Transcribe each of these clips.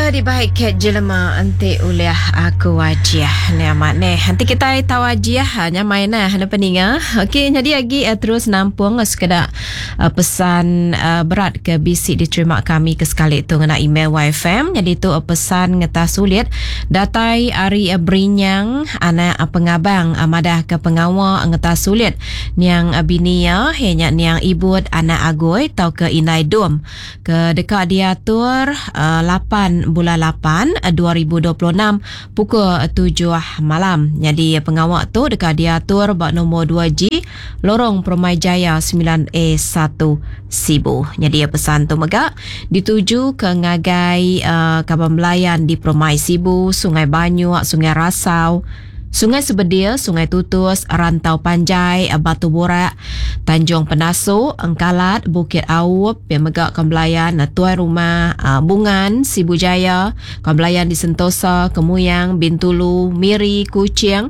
Ke dibai Cat Jelema enti ulih aku ajih. Ni amat neh. Enti kitai tau ajih ha, nyamai nah ne peninga. Okey nyadi agi eh, terus nampung sekeda eh, pesan eh, berat ke bisi diterima kami ke sekali tu ngena email YFM. Nyadi tu eh, pesan ngetas sulit datai ari eh, Berinyang anak eh, pengabang eh, madah ke pengawa ngetas sulit niang eh, bini iya iya nya niang Ibut anak Agoi tauka Indai Dum. ke deka diatur lapan bulan lapan 2026 pukul tujuh malam. Nyadi pengawa tu deka diatur ba nombor 2G Lorong Permai Jaya 9A1 Sibu. Nyadi pesan tu mega dituju ke ngagai kaban belayan di Permai Sibu, Sungai Banyuk, Sungai Rasau, Sungai Sebedil, Sungai Tutus, Rantau Panjai, Batu Burak, Tanjung Penasu, Engkalat, Bukit Aup, pia mega Kembelayan, Tuai Rumah, Bungan, Sibu Jaya, Kembelayan di Sentosa, Kemuyang, Bintulu, Miri, Kuching,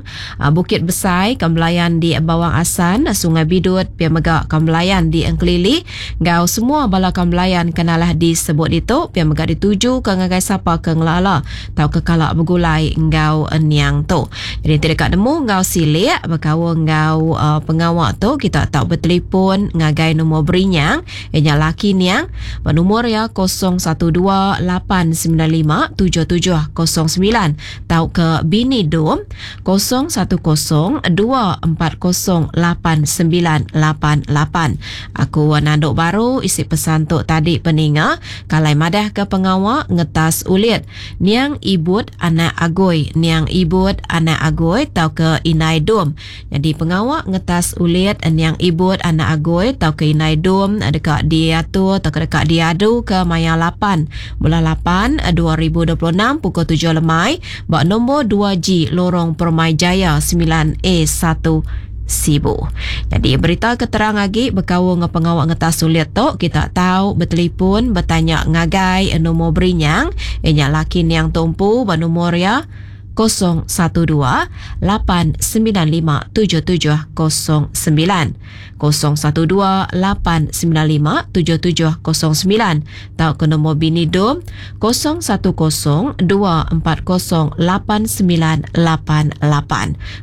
Bukit Besai, Kembelayan di Bawang Assan, Sungai Bidut, pia mega Kembelayan di Engkelili enggau semua bala Kembelayan ke nalah disebut ditu, pia mega ditujuka ngagai sapa ke ngelala tauka kala begulai enggau niang tu. Jadi enti deka nemu enggau silik bekaul enggau uh, pengawa tu kita tau betelefon ngagai nombor berinyang iya nya laki niang ba nombor iya 012 895 7709 tauka bini dum 010 240 8988. Aku nandu baru isi pesan tu tadi peninga kalai madah ke pengawa ngetas ulit Niang Ibut anak Agoi Niang Ibut anak Agoi tauka Indai Dum. Nyadi pengawa ngetas ulit Niang Ibut anak Agoi tauka Indai Dum deka diatur tauka deka diaduka maya lapan bulan lapan 2026 pukul tujuh lemai ba nombor 2G Lorong Permai Jaya 9A1 Sibu. Nyadi berita ke terang agi bekaul enggau pengawa ngetas sulit tu kita tau betelefon betanya ngagai nombor berinyang iya nya laki niang tu empu ba nombor iya 012 895 7709. 012 895 7709 tauka nombor bini dom 010 240 8988.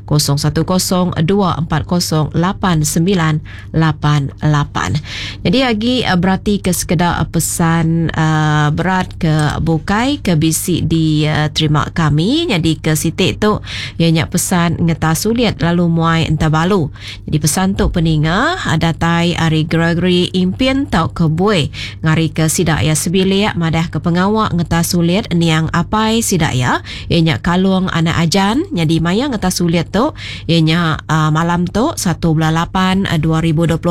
010 240 8988. Jadi agi eh, berati ke sekeda eh, pesan uh, berat ke bukai ke bisi diterima kami. Jadi ke siti tu iya nya pesan ngeta sulit lalu muai enta balu. Jadi pesan tu peninga datai ari Gregory Impin tauka Bui ngari ke sida iya sebilik madah ke pengawa ngeta sulit niang apai sida iya iya nya Kalong anak Ajan nyadi maya ngeta sulit tu iya nya uh, malam tu satu bulan lapan 2026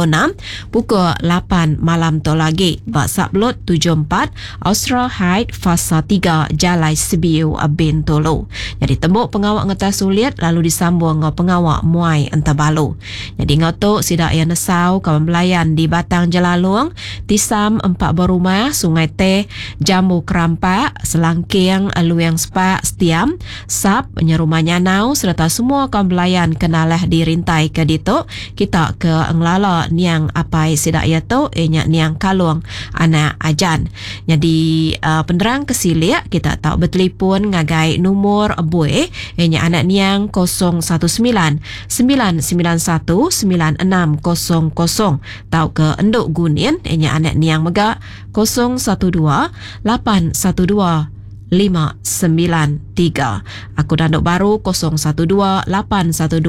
pukul lapan malam tu lagi ba Sublot 74 Austral Height Fasa tiga Jalai Sebiu Bintulu. Nyadi tembu pengawa ngetas ulit lalu disambung enggau pengawa muai entabalu. Nyadi enggau tu sida iya nesau kaban belayan di Batang Jelalong, Tisam Empat Berumah, Sungai Teh, Jambu Kerampak, Selangking, Luing Sepak, Setiam, Sap, Nyerumah Nyanau sereta semua kaban belayan ke nalah dirintai ke ditu kita ke ngelala niang apai sida iya tu iya nya niang Kalong anak Ajan. Nyadi penerang ke silik kita tau betelefon ngagai numur bui iya nya anak niang 019 991 9600 tauka endu Gunin iya nya anak niang mega 012 812 593. Aku danduk baru 012 812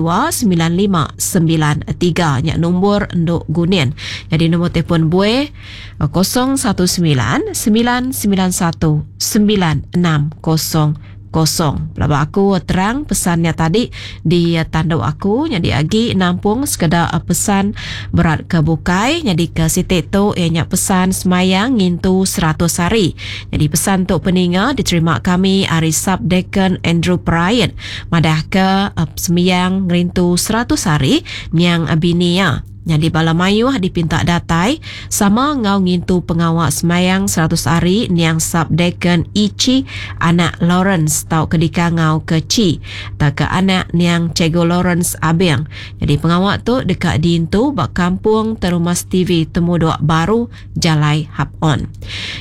9593 nya nombor enduk Gunin. Jadi nombor telefon bue 019 991 9600. Pelaba aku terang pesan nya tadi di tanduk aku nyadi agi nampung sekeda pesan berat ke bukai nyadi ke siti tu iya nya pesan semayang ngintu 100 hari. Nyadi pesan tu peninga diterima kami ari Subdeacon Andrew Perait madahka sembiang ngerintu 100 hari niang bini iya. Nyadi bala mayuh dipinta datai sama enggau ngintu pengawa semayang 100 hari niang Sub-Deacon Ichi anak Lawrence tauka dikangau ke Chi tauka anak niang Cikgu Lawrence Abing. Nyadi pengawa tu deka diintu ba Kampung Terumas TV Temudok Baru Jalai Hap On.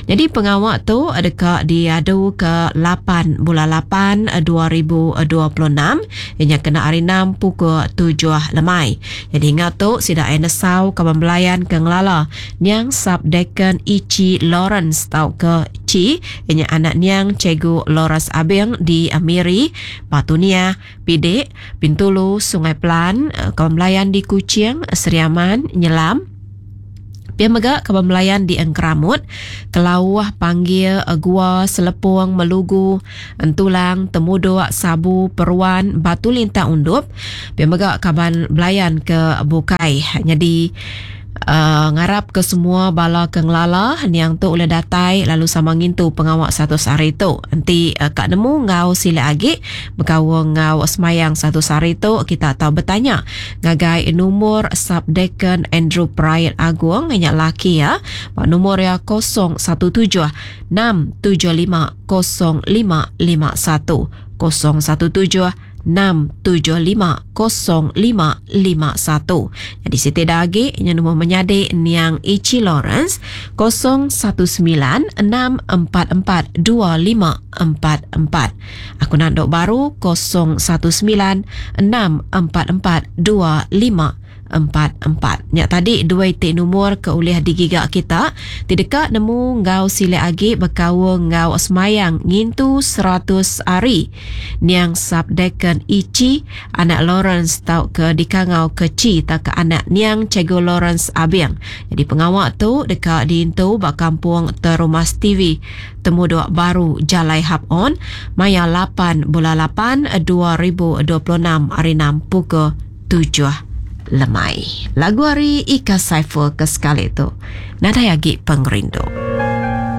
Nyadi pengawa tu deka diadu ke lapan bulan lapan 2026 iya nya kena hari enam pukul tujuh lemai. Nyadi enggau tu sida iya nesau kaban belayan ke ngelala niang Sub-Deacon Ichi Lawrence tauka Chi iya nya anak niang Cikgu Lawrence Abing di Miri, Batu Niah, Pidik, Bintulu, Sungai Pelan, kaban belayan di Kuching, Sri Aman, Nyelam. Pia mega kaban belayan di Engkeramut, Kelauh, Panggil, Gua, Selepong, Melugu, Entulang, Temudok, Sabu, Peruan, Batu Lintang Undup. Pia mega kaban belayan ke bukai. Nyadi uhh ngarap ke semua bala ke ngelala niang tu ulih datai lalu sama ngintu pengawa 100 hari tu. Enti ka nemu enggau silik agi bekaul enggau semayang 100 hari tu kita tau betanya ngagai numur Sub-Deacon Andrew Perait Agong nya laki iya ba numur iya 017 675 0551, 017 675 0551. Nyadi siti da agi nya numur menyadi niang Ichi Lawrence 019 644 2544. Aku nandu baru 0196442544. Nya tadi dua iti numur ke ulih digiga kita ti deka nemu enggau silik agi bekaul enggau semayang ngintu 100 hari niang Sub-Deacon Ichi anak Lawrence tauka dikangau ke Chi tauka anak niang Cikgu Lawrence Abing. Nyadi pengawa tu deka diintu ba Kampung Terumas TV. Temudok baru Jalai Hap On maya lapan bulan lapan 2026 hari enam pukul tujuh lemai. Lagu ari Ika Saiful ke sekali tu nadai agi pengerindu.